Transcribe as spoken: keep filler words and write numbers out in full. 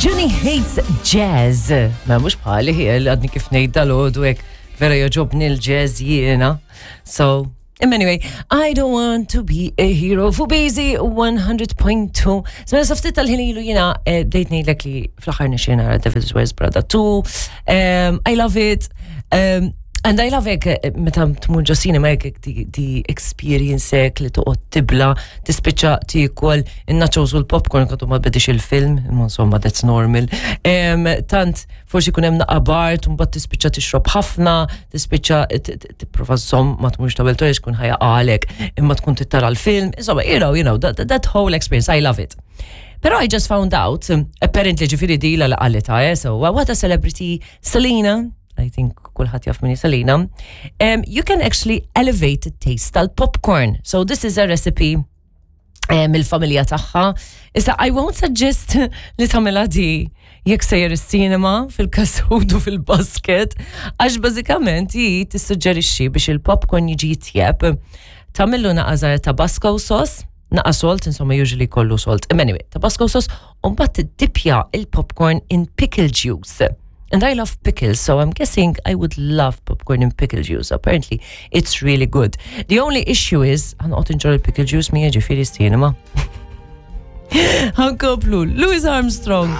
Johnny hates jazz. Ma mhux bħali, għadni kif ngħid dalgħodu hekk vera jogħġobni l-jazz jiena. So, anyway, I don't want to be a hero for Busy one hundred point two. Mela sa ftit tal-ħin ilu jiena eh, bdejt ngħidlek li fl-aħħar nixtieq nara Devil's Wears Prada two. Um, I love it. Um, And I love it eh, meta tmur ġo cinema hekk di, di experience hekk li toqgħod tibla, tispiċċa tiekol in-nachos u l-popcorn għadu ma bedix il-film, imma insomma that's normal. Um, tant forsi kun hemm naqa bard, u mbagħad tispiċċa tixrob ħafna, tispiċċa tipprova żomm ma tmurx tawel toilet tkun ħa jaqagħlek, imma tkun trid tara l-film, insomma, you know, you know, that, that whole experience, I love it. Pero I just found out, apparently ġifieri di la qalita, eh, so what a celebrity, Selena, I think kulħadd jaf min hi Selena, um, you can actually elevate the taste tal-popcorn. So this is a recipe eh, mill-familja tagħha. Issa I won't suggest li tagħmilha di jekk sejjer is-cinema fil-kasud u fil-basket, għax bażikament hi tissuġġerixxi biex il-popcorn jiġi jitjeb. Tagħmillu naqa żgħar Tabasco sauce, naqa salt, insomma usually kollu salt. Anyway, Tabasco sauce, u mbagħad tiddipja il-popcorn in pickle juice. And I love pickles, so I'm guessing I would love popcorn in pickle juice. Apparently, it's really good. The only issue is, ħa noqgħod inġorr il-pickle juice miegħi ġifieri cinema. Ħa nkomplu, Louis Armstrong.